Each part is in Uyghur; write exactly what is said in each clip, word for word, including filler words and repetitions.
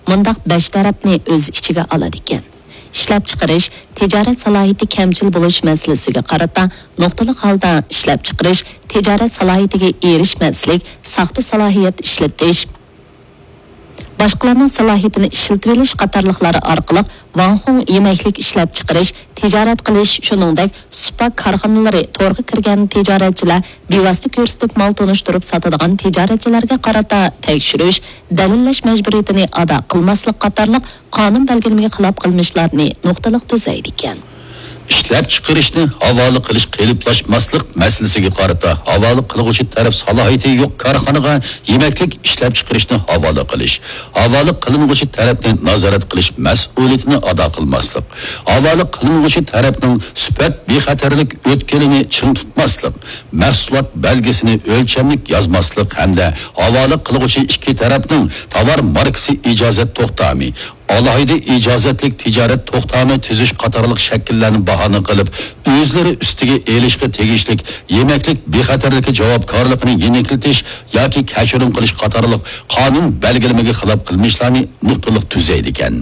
مۇنداق بەش تەرەپنى ئۆز ئىچىگە ئالىدىكەن. ئىشلەپچىقىرىش، تىجارەت سالاھىيىتى كەمچىل بولۇش مەسىلىسىگە قارىتا نۇقتىلىق ھالدا ئىشلەپچىقىرىش، تىجارەت سالاھىيىتىگە ئېرىشمەسلىك، ساختا سالاھىيەت ئىشلىتىش، باشقىلارنىڭ سالاھىيىتىنى ئىشلىتىۋېلىش قاتارلىقلار ئارقىلىق ۋاڭخۇڭ يېمەكلىك ئىشلەپچىقىرىش، تىجارەت قىلىش، شۇنىڭدەك سۇپا كارخانىلىرى، تورغا كىرگەن تىجارەتچىلەر، بىۋاسىتە كۆرسىتىپ مال تونۇشتۇرۇپ ساتىدىغان تىجارەتچىلەرگە قارىتا تەكشۈرۈش، دەلىللەش مەجبۇرىيىتىنى ئادا قىلماسلىق قاتارلىق قانۇن بەلگىلىمىگە خىلاپ قىلمىشلارنى نۇقتىلىق تۈزەيدىكەن. ئىشلەپچىقىرىشنى ھاۋالە قىلىش قېلىپلاشماسلىق مەسىلىسىگە قارىتا، ھاۋالە قىلغۇچى تەرەپ سالاھىيىتى يوق كارخانىغا يېمەكلىك ئىشلەپچىقىرىشنى ھاۋالە قىلىش، ھاۋالە قىلىنغۇچى تەرەپنى نازارەت قىلىش مەسئۇلىيىتىنى ئادا قىلماسلىق، ھاۋالە قىلىنغۇچى تەرەپنىڭ سۈپەت بىخەتەرلىك ئۆتكىلىنى چىڭ تۇتماسلىق، مەھسۇلات بەلگىسىنى ئۆلچەملىك يازماسلىق ھەمدە ھاۋالە قىلغۇچى ئىككى تەرەپنىڭ تاۋار ماركىسى ئىجازەت توختامى، ئالاھىدە ئىجازەتلىك تىجارەت توختامى تۈزۈش قاتارلىق شەكىللەرنى باھانە قىلىپ، ئۆزلىرى ئۈستىگە ئېلىشقا تېگىشلىك يېمەكلىك بىخەتەرلىكى جاۋابكارلىقىنى يېنىكلىتىش ياكى كەچۈرۈم قىلىش قاتارلىق قانۇن بەلگىلىمىگە خىلاپ قىلمىشلارنى نۇقتىلىق تۈزەيدىكەن.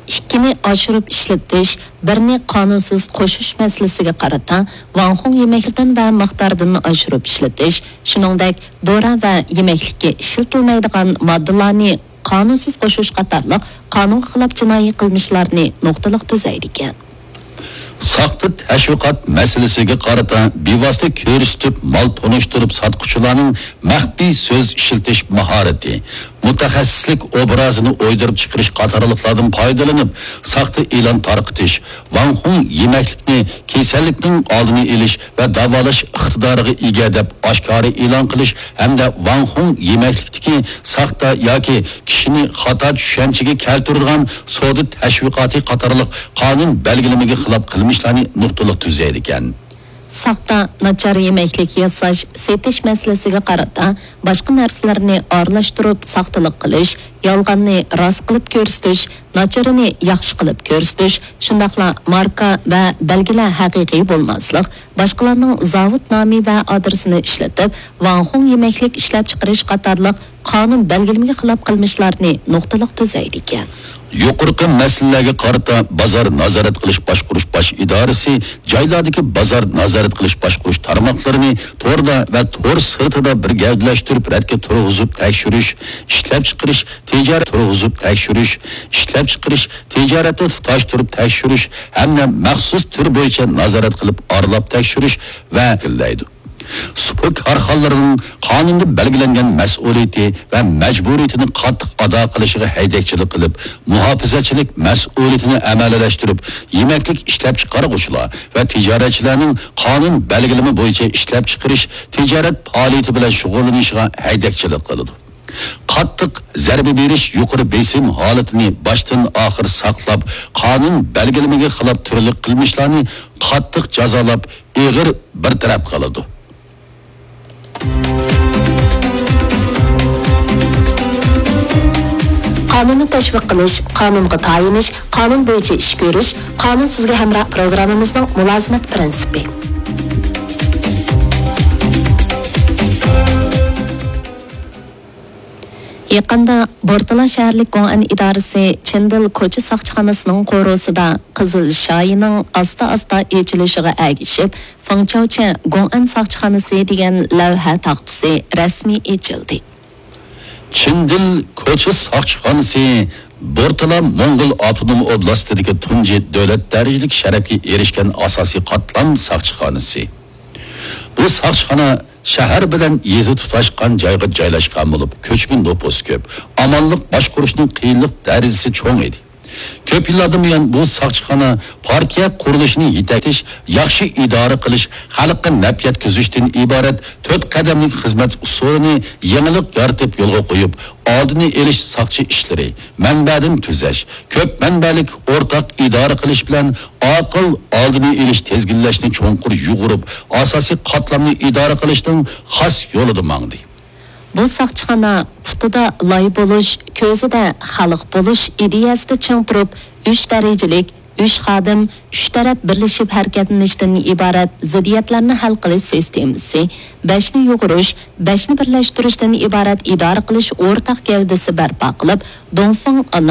ئىككىنى ئاشۇرۇپ ئىشلىتىش، بىرنى قانۇنسىز قوشۇش مەسىلىسىگە قارىتا، ۋاڭخۇڭ يېمەكلىكتىن ۋە مىقدارىدىن ئاشۇرۇپ ئىشلىتىش، شۇنىڭدەك دورا ۋە يېمەكلىككە ئىشلىتىلمەيدىغان ماددىلارنى قانۇنسىز قوشۇش قاتارلىق قانۇنغا خىلاپ جىنايى قىلمىشلارنى نۇقتىلىق تۈزەيدىكەن. ساختا تەشۋىقات مەسىلىسىگە قارىتا، بىۋاسىتە كۆرسىتىپ مال تونۇشتۇرۇپ ساتقۇچىلارنىڭ مەخپىي سۆز ئىشلىتىش ماھارىتى، مۇتەخەسسىسلىك ئوبرازىنى ئويدۇرۇپ چىقىرىش قاتارلىقلاردىن پايدىلىنىپ، ساختا ئېلان تارقىتىش، ۋاڭخۇڭ يېمەكلىكنى كېسەللىكنىڭ ئالدىنى ئېلىش ۋە داۋالاش ئىقتىدارىغا ئىگە دەپ ئاشكارا ئېلان قىلىش ھەمدە ۋاڭخۇڭ يېمەكلىكتىكى ساختا ياكى كىشىنى خاتا چۈشەنچىگە كەلتۈرىدىغان سودا تەشۋىقاتى قاتارلىق قانۇن بەلگىلىمىگە خىلاپ قىلمىشلارنى نۇقتىلىق تۈزەيدىكەن. ساختا، ناچار يېمەكلىك ياساش، سېتىش مەسىلىسىگە قارىتا، باشقا نەرسىلەرنى ئارىلاشتۇرۇپ ساختىلىق قىلىش، يالغاننى راست قىلىپ كۆرسىتىش، ناچىرىنى ياخشى قىلىپ كۆرسىتىش، شۇنداقلا ماركا ۋە بەلگىلەر ھەقىقىي بولماسلىق، باشقىلارنىڭ زاۋۇت نامى ۋە ئادرېسىنى ئىشلىتىپ، ۋاڭخۇڭ يېمەكلىك ئىشلەپچىقىرىش قاتارلىق قانۇن بەلگىلىمىگە خىلاپ قىلمىشلارنى نۇقتىلىق تۈزەيدىكەن. يۇقىرىقى مەسىلىلەرگە قارىتا بازار نازارەت قىلىش باشقۇرۇش باش ئىدارىسى جايلاردىكى بازار نازارەت قىلىش باشقۇرۇش تارماقلىرىنى توردا ۋە تور سىرتىدا بىر گەۋدىلەشتۈرۈپ رەتكە تۇرغۇزۇپ تەكشۈرۈش، ئىشلەپچىقىرىش، تىجارەت تۇرغۇزۇپ تەكشۈرۈش، ئىشلەپچىقىرىش، تىجارەتنى تۇتاشتۇرۇپ تەكشۈرۈش ھەمدە مەخسۇس تۈر بويىچە نازارەت قىلىپ ئارىلاپ تەكشۈرۈش ۋە شەكىللەيدۇ. سۇپا كارخانىلىرىنىڭ قانۇندا بەلگىلەنگەن مەسئۇلىيىتى ۋە مەجبۇرىيىتىنى قاتتىق ئادا قىلىشىغا ھەيدەكچىلىك قىلىپ، مۇھاپىزەتچىلىك مەسئۇلىيىتىنى ئەمەلىيلەشتۈرۈپ، يېمەكلىك ئىشلەپچىقارغۇچىلار ۋە تىجارەتچىلەرنىڭ قانۇن بەلگىلىمە بويىچە ئىشلەپچىقىرىش، تىجارەت پائالىيىتى بىلەن شۇغۇللىنىشىغا ھەيدەكچىلىك قىلىدۇ. قاتتىق زەربە بېرىش يۇقىرى بېسىم ھالىتىنى باشتىن ئاخىر ساقلاپ، قانۇن بەلگىلىمىگە خىلاپ تۈرلۈك قىلمىشلارنى قاتتىق جازالاپ، ئېغىر بىر تەرەپ قىلىدۇ. قانۇننى تەشۋىق قىلىش، قانۇنغا تايىنىش، قانۇن بويىچە ئىش كۆرۈش، قانۇن سىزگە ھەمراھ پروگراممىمىزنىڭ مۇلازىمەت پىرىنسىپى. يېقىندا بورتالا شەھەرلىك گوڭئەن ئىدارىسى چىندىل كوچا ساقچىخانىسىنىڭ قورۇسىدا قىزىل شايىنىڭ ئاستا-ئاستا ئېچىلىشىغا ئەگىشىپ، فېڭچاۋچە گوڭئەن ساقچىخانىسى دېگەن لەۋھە تاختىسى رەسمىي ئېچىلدى. چىندىل كوچا ساقچىخانىسى بورتالا موڭغۇل ئاپتونوم ئوبلاستىدىكى تۇنجى دۆلەت دەرىجىلىك شەرەپكە ئېرىشكەن ئاساسىي قاتلام ساقچىخانىسى. بۇ ساقچىخانا شەھەر بىلەن يېزا تۇتاشقان جايغا جايلاشقان بولۇپ، كۆچمە نوپۇس كۆپ، ئامانلىق باشقۇرۇشنىڭ قىيىنلىق دەرىجىسى چوڭ ئىدى. كۆپ يىللاردىن بۇيان بۇ ساقچىخانا پارتىيە قۇرۇلۇشىنى يېتەكلەش، ياخشى ئىدارە قىلىش، خەلققە نەپ يەتكۈزۈشتىن ئىبارەت تۆت قەدەملىك خىزمەت ئۇسۇلىنى يېڭىلىق يارىتىپ يولغا قويۇپ، ئالدىنى ئېلىش ساقچى ئىشلىرى، مەنبەدىن تۈزەش، كۆپ مەنبەلىك ئورتاق ئىدارە قىلىش بىلەن ئاقىل ئالدىنى ئېلىش، تىزگىنلەشنى چوڭقۇر يۇغۇرۇپ، ئاساسىي قاتلامنى ئىدارە قىلىشنىڭ خاس يولىدا ماڭدى. بۇ ساقچىخانا پۇتىدا لاي بولۇش، كۆزىدە خەلق بولۇش ئىدىيەسىدە چىڭ تۇرۇپ، ئۈچ دەرىجىلىك، ئۈچ خادىم، ئۈچ تەرەپ بىرلىشىپ ھەرىكەتلىنىشتىن ئىبارەت زىددىيەتلەرنى ھەل قىلىش سىستېمىسى، بەشنى يۇغۇرۇش، بەشنى بىرلەشتۈرۈشتىن ئىبارەت ئىدارە قىلىش ئورتاق گەۋدىسى بەرپا قىلىپ، دۇڭفېڭ ئانا